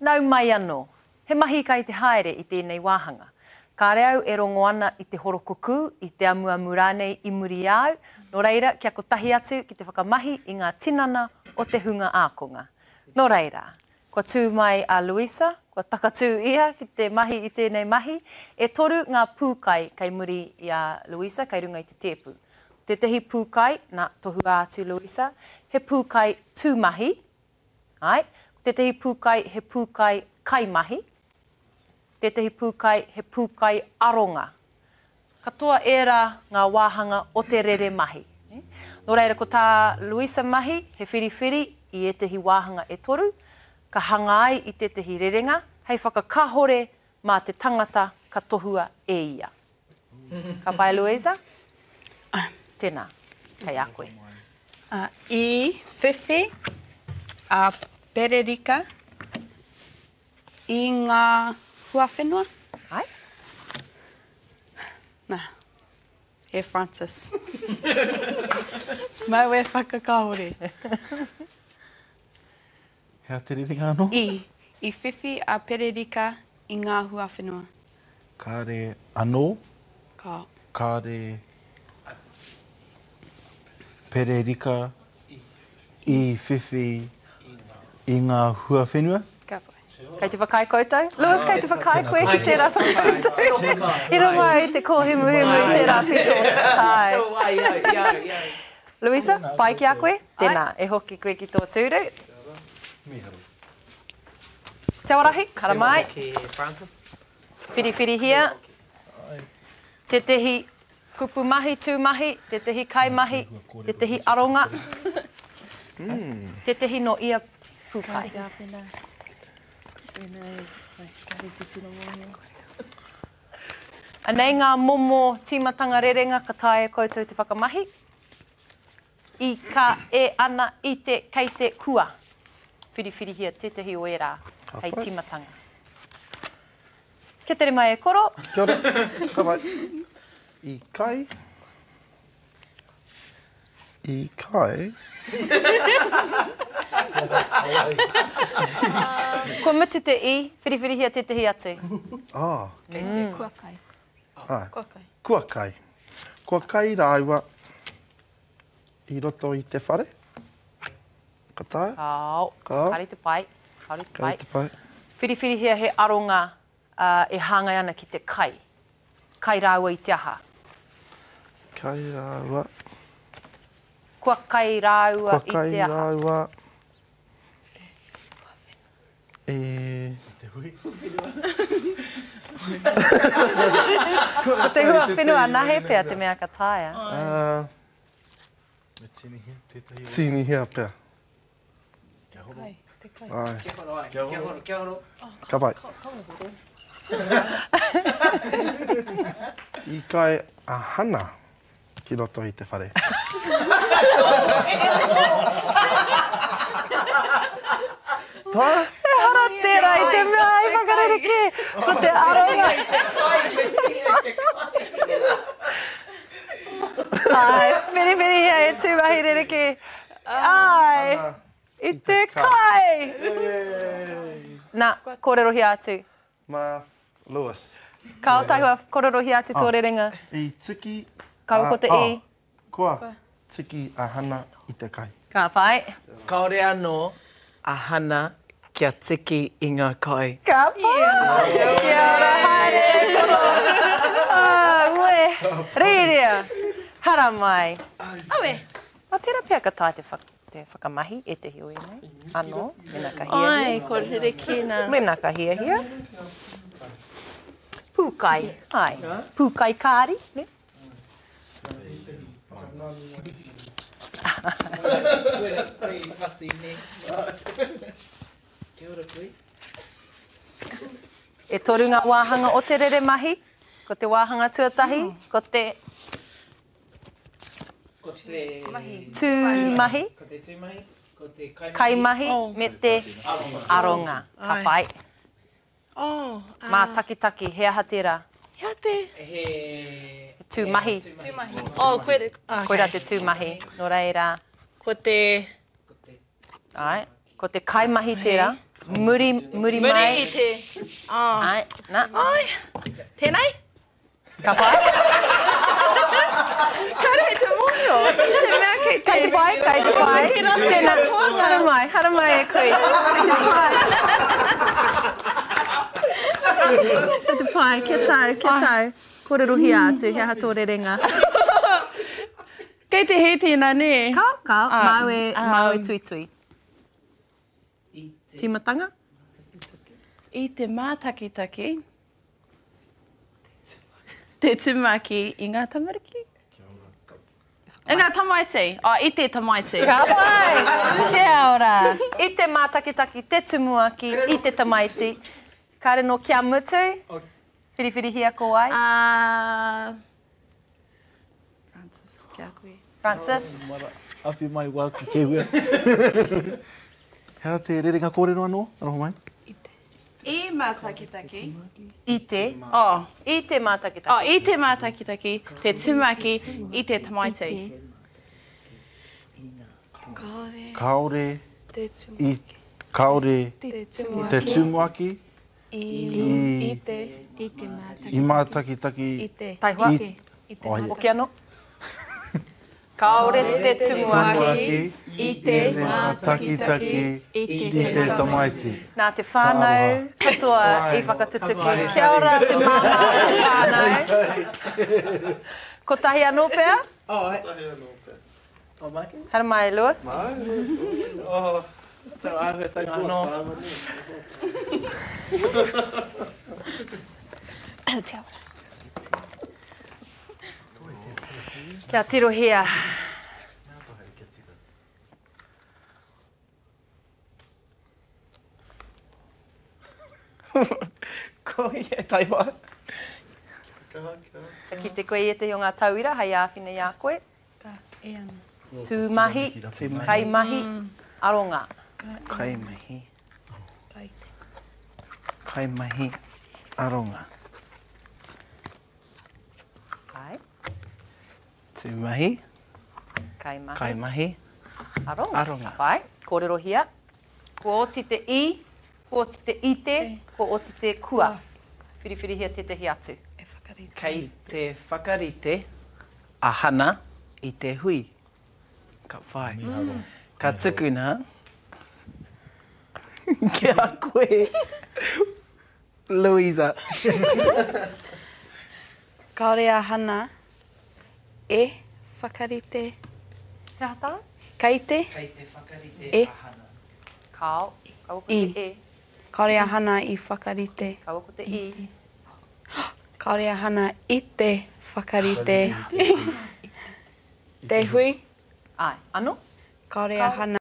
Nau mai anō. He mahi kai te haere i tēnei wāhanga. Kāre au e rongo ana i te horokukū, i te amuamu rānei i muri i a au, nō reira kia kotahi atu ki te whakamahi i ngā tinana o te hunga ākonga. Nō reira, kua tū mai a Luisa, kua takatū ia ki te mahi i tēnei mahi. E toru ngā pūkai kei muri i a Luisa, kei runga i te tēpu. Ko tētahi pūkai, nā, tohua atu Luisa, he pūkai tūmahi, Āe, ko tētahi pūkai he pūkai kaimahi, tētahi pūkai he pūkai aronga. Katoa ērā ngā wāhanga o te rere mahi. Nō reira, ko tā Luisa mahi he whiriwhiri i ētahi wāhanga e toru, ka hanga ai i tētahi rerenga hei whakakahore mā te tangata ka tohua e ia. Ka pai Louisa? Tēnā, kei a koe. I whiwhi a Pererika i ngā huawhenua. Ai? Nā, e Francis. Mau e whakakāhore. He aha te rerenga anō? I. I whiwhi a Pererika i ngā huawhenua. Kāre anō? Ka. Kāre Pererika i whiwhi i ngā huawhenua? Ka pai. Kei te whakaae koutou? Lewis, kei te whakaae koe ki tērā whakautu? I runga i te kōhimuhimu i tērā pito. Āe. Louisa, pai ki a koe? Tēnā, e hoki koe ki tō tūru. Mīharo. Te Awarahi, haramai. Whiriwhirihia. Tētehi kupu mahi, tū mahi, tētehi kaimahi, tētehi aronga, tētehi nō ia pūkai. Anei ngā momo tīmatanga rerenga ka taea e koutou te whakamahi. I, ka, e, ana, i te, kei te, kua. Whiriwhirihia tētahi o ērā hei tīmatanga. Kia tere mai e koro. Kia ora. Ka pai. I kai. I kai. Kua mutu te i, whiriwhirihia tētahi atu. Ah. Kei te kua kai. Ah. Kua kai. Kua kai. Kua kai rāua i roto i te whare? Ka taea? Kāo. Kāo. Kāore te pai. Kāore te pai. Kāore te pai. Whiriwhirihia he aronga e hāngai ana ki te kai. Kai rāua i te aha? Kai rāua. Kua kai rāua i te aha? Kua kai rāua i. Te hui whenua. Ko te hua whenua anahe pea te mea ka taea. Me tīnihia tētahi o. Tīnihia pea. Kia horo. Kai, te kai. Ai. Kia horo, ai. Kia horo, kia horo. Ka pai. Ka horo. I kai a Hana ki roto i te whare. Tā? Ehara tērā i te mea hei whakarerekē, ko te aronga. Āe, whiriwhirihia e tūmahi rerekē. Āe, i te kai! Nā, kōrerohia atu. Mā Lewis. Kao tahua, kōrerohia atu tō rerenga. I tiki a. Kaua ko te i. Kua tiki a Hana i te kai. Ka pai. Kāore anō a Hana kia tiki i ngā kai. Ka pai! Kia ora, haere e koro! Aue! Rīria! Haramai! Aue! Ah, tērā pea ka taea te te whakamahi ētehi o ēnei anō, mēnā ka hiahia. Ai, ko rerekē nā. Mēnā ka hiahia. Pūkai, ai. Pūkai kāri, ne? E toru ngā wāhanga o te rere mahi. Ko te wāhanga tuatahi, ko te Ko te tūmahi, Ko te tūmahi, ko te kaimahi, kaimahi me te aronga. Ka pai. Oh, ā. Mātakitaki, he aha tērā? He aha te? He. Tūmahi. Tūmahi. Oh, koe, okay. Koirā te tūmahi. Nō reira. Ko te. Ko te. Āe. Ko te kaimahi tērā. Muri, muri mai. Muri i te. Oh. Ai, nā. Ai. Tēnei? Ka pai? Kāre i te mōhio. I te mea kei te... Kei te pai, kei te pai. Tēnā, haramai, haramai e koe. Kei te pai. Kei te pai, kia tau, kia tau. Kōrerohia atu, he aha tō rerenga? Kei te hē tēnā, nē? Kao, kao, māu e, māu e tuitui. Tīmatanga? I te mātakitaki, te tumaki i ngā tamariki. I ngā tamaiti. Oh, i te tamaiti. Ka pai! Kia ora! I te mātakitaki, te tumuaki, i te tamaiti. Kāre nō kia mutu, whiriwhirihia ko wai? Uh, Francis, ki a koe. Francis. Awhi mai wāku kehua. He aha te rerenga kōrero anō? Aroha mai. I te. I mātakitaki. I te. Oh. I te mātakitaki. Oh, i te mātakitaki, te tumaki, i te tamaiti. Kāore. Kāore. Te tumuaki. I, kāore. Te tumuaki. Te tumuaki. I. I. I te. I te mātakitaki. I mātakitaki. I te. Taihoa. I. I te. Hoki anō. Kāore te tumuaki. I te mātakitaki. I te tamaiti. Nā te whānau katoa i whakatutuki. Kia ora te māmā o te whānau. Kotahi anō pea? Kotahi anō pea. Haramai, Lewis. Tō āhuatanga anō. Kia ora. Kia tirohia. Ko ia taihoa. Ka kite koe i ētahi o ngā tauira hei āwhina i a koe. Ka e ana. Tūmahi, kaimahi, aronga. Kaimahi. Kaimahi, aronga. Ai. Tūmahi. Kaimahi. Kaimahi. Aronga. Aronga. Pai. Kōrerohia. Kua oti te i, kua oti te i te, kua oti te kua. Whiriwhirihia tētahi atu. E whakarite. Kei te whakarite a Hana i te hui. Ka whai. Ka tukuna ki a koe, Louisa. Kāore a Hana e whakarite. He aha tāu? Kei te. Kei te whakarite e. a Hana. Kāo. Kaua ko te e. Kāore a Hana i whakarite. Kaua ko te i. Kāore a Hana i te whakarite. Te hui. Āe. Ano? Kāore a Hana.